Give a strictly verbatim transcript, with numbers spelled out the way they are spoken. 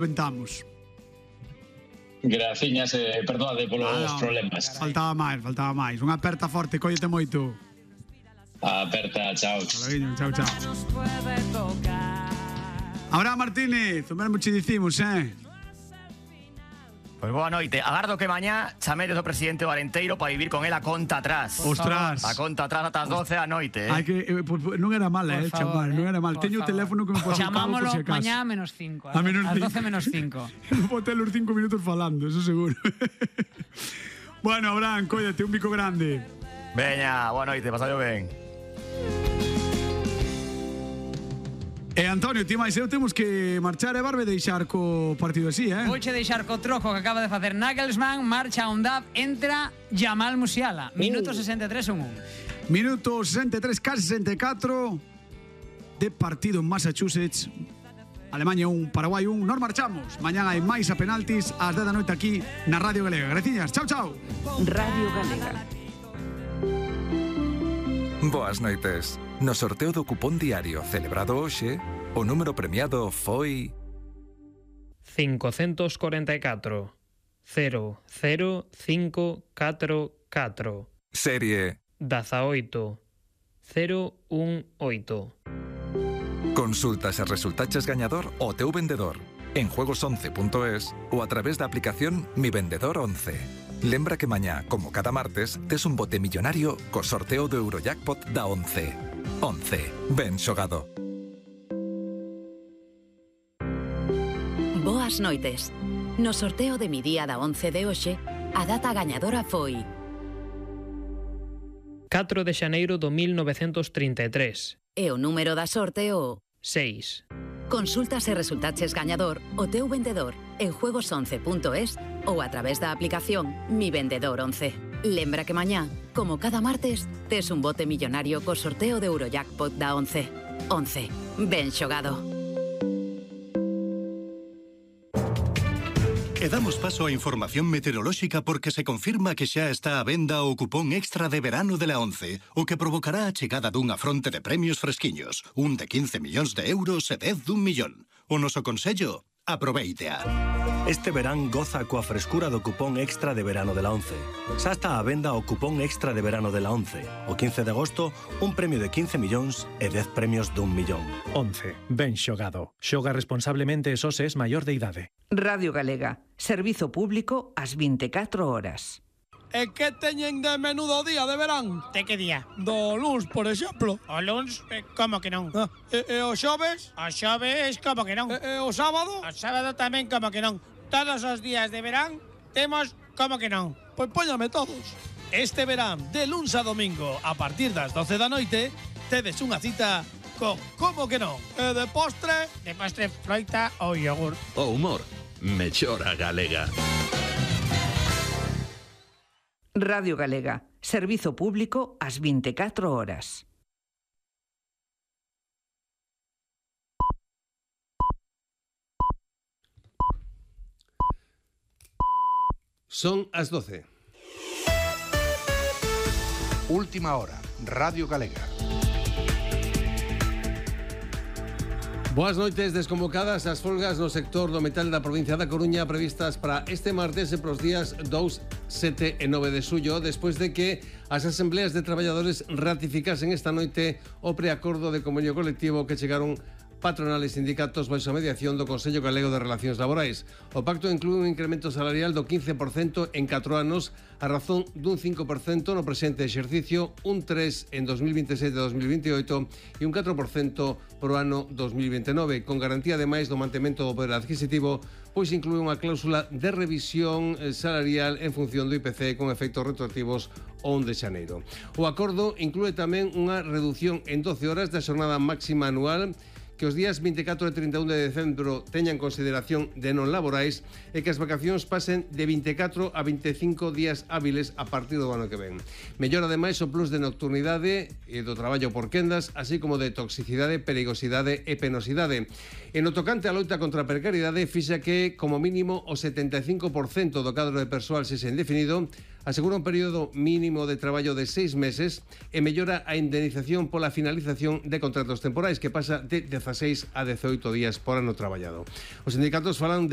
Ventamos. Graciñas, eh, perdóade polos Ah, no, problemas. Faltaba máis, faltaba máis. Unha aperta forte, cóllete moito. Aperta, chao. Salaguiño, chao, chao. Abraham Martínez, o mesmo che dicimos, eh? Pois boa noite. Agardo que mañá chamedes do presidente Valenteiro para vivir con ela conta atrás. Ostras. A conta atrás ata as doce da noite, eh? Hai que, eh, pues, non era mal, eh, chamar, non era mal. Teño o teléfono que me pode sacar por Chamámolo si acaso. mañá a menos cinco. A menos As cinco. doce menos cinco. Non vou ter os cinco minutos falando, eso seguro. Bueno, Abraham, cóllate, un bico grande. Veña, boa noite, pasadlo ben. E Antonio, ti máis eu temos que marchar e Barbe deixar co partido así, eh? Vouche deixar co troco que acaba de facer Nagelsmann, marcha a Undab, entra Jamal Musiala. Minuto sesenta e tres un un. Minuto sesenta e tres, casi sesenta e catro de partido en Massachusetts. Alemania un, Paraguai un. Nos marchamos. Mañán hai máis a penaltis ás dez da noite aquí na Radio Galega. Graciñas, chao, chao. Radio Galega. Boas noites. No sorteo do cupón diario celebrado hoxe, o número premiado foi cincocentos cuarenta e catro cero cero cinco catro catro. serie dezaoito cero un oito. Consulta se resultaches gañador o teu vendedor en juegos once punto es ou a través da aplicación Mi Vendedor once. Lembra que mañá, como cada martes, tes un bote millonario co sorteo do Eurojackpot da once. once. Ben xogado. Boas noites. No sorteo de mi día da once de hoxe, a data gañadora foi catro de xaneiro do mil novecentos trinta e tres. e o número da sorte o seis. Consulta se resultaches gañador o teu vendedor en juegos once punto es ou a través da aplicación Mi Vendedor once. Lembra que mañá, como cada martes, tes un bote millonario co sorteo de Eurojackpot da once. once. Ben xogado. E damos paso á información meteorolóxica porque se confirma que xa está á venda o cupón extra de verano de la once, o que provocará a chegada dunha fronte de premios fresquiños, un de quince millóns de euros e dez dun millón. O noso consello, aproveitea. Este verán goza coa frescura do cupón extra de verano de la once. Xa está á venda o cupón extra de verano de la once. O quince de agosto, un premio de quince millóns e dez premios dun millón. once. Ben xogado. Xoga responsablemente e só se es maior de idade. Radio Galega. Servizo público ás vinte e catro horas. E que teñen de menudo día de verán? De que día? Do luns, por exemplo. O luns? Eh, como que non? Ah, e, e o xoves? O xoves, como que non? E, e o sábado? O sábado tamén, como que non? Todos os días de verán temos como que non? Pois póñame todos. Este verán, de luns a domingo, a partir das doce da noite, tedes unha cita con como que non? E de postre? De postre, froita ou yogur. O humor, mellora galega. Radio Galega. Servizo público ás vinte e catro horas. Son as doce. Última hora, Radio Galega. Boas noites. Desconvocadas as folgas no sector do metal da provincia da Coruña previstas para este martes e pros días dous, sete e nove de xullo, despois de que as asembleas de traballadores ratificasen esta noite o preacordo de convenio colectivo que chegaron patronales e sindicatos baixo a mediación do Consello Galego de Relacións Laborais. O pacto inclúe un incremento salarial do quince por cento en catro anos a razón dun cinco por cento no presente exercicio, un tres por cento en dos mil vinte e sete e dos mil vinte e oito e un catro por cento pro ano dos mil vinte e nove, con garantía ademais do mantemento do poder adquisitivo, pois inclúe unha cláusula de revisión salarial en función do I P C con efectos retroactivos ao un de xaneiro. O acordo inclúe tamén unha reducción en doce horas da xornada máxima anual, que os días vinte e catro e trinta e un de decembro teñan consideración de non laborais e que as vacacións pasen de vinte e catro a vinte e cinco días hábiles a partir do ano que ven. Mellora ademais o plus de nocturnidade e do traballo por quendas, así como de toxicidade, perigosidade e penosidade. En o tocante á loita contra a precariedade, fixa que, como mínimo, o setenta e cinco por cento do cadro de persoal sexa indefinido, asegura un período mínimo de traballo de seis meses e mellora a indemnización pola finalización de contratos temporais, que pasa de dezaseis a dezaoito días por ano traballado. Os sindicatos falan de